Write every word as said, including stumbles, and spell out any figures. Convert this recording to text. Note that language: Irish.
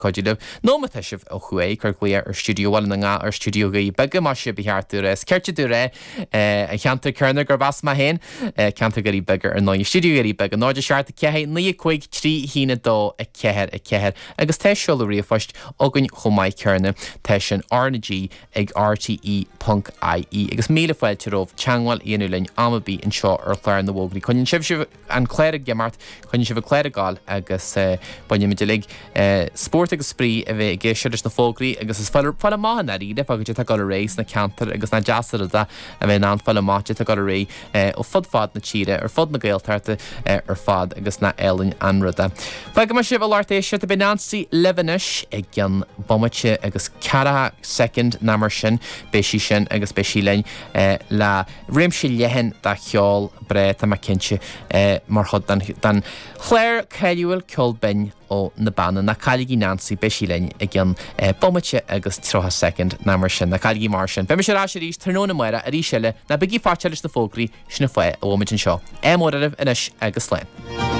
Cuidiú libh nó má tá sibh ó thuaidh cuir glaoch ar stiúideo Bhaile na nGall ar stiúideo Dhoirí Beaga más ea ba cheart dúinn a rá. Is cirte dúinn a rá an cheantar céanna gurb as mé féin, ceantar Dhoirí Beaga ar ndóigh. Stiúideo Dhoirí Beaga náid a seacht a ceathair naoi a cúig trí haon a dó a ceathair a ceathair agus tá seoladh ríomhphoist againn chomh maith céanna, tá sin R na G ag R T E ponc I E agus míle fáilte romhaibh teagmháil a dhéanamh linn am ar bith anseo ar chlár na bhfógraí. Coinníonn sibh sibh an clár ag imeacht, coinníonn sibh an clár ag gabháil agus bainimid uilig spórt agus spraoi a bheith ag éisteacht leis na fógraí agus is fáil fáil amach i ndáiríre fá goidé atá ag dul ar aghaidh sna ceantair agus nach deas an rud é a bheith in ann fáil amach goidé atá ag dul ar aghaidh ó fud fad na tíre, ar fud na Gaeltachta ar fad agus nach álainn an rud é. Fágfaidh mé sibh a lucht éisteachta, beidh Nancy libh anois i gcionn bomaite agus ceathracha soicind ná mar sin, beidh sí sin agus beidh sí linn le réimse leathan de cheol breá tá mé cinnte mar chuid den chlár cáiliúil Ceol Binn ó na Beanna. Ná cailligí Nancy, beidh sí linn i gcionn bomaite agus tríocha soicind ná mar sin. Ná cailligí mar sin. Beidh mise ar ais arís tráthnóna amárach arís eile, ná bígí faitíoch leis na fógraí, sin an fáth a bhfuil muid anseo. Ádh mór oraibh anois agus slán.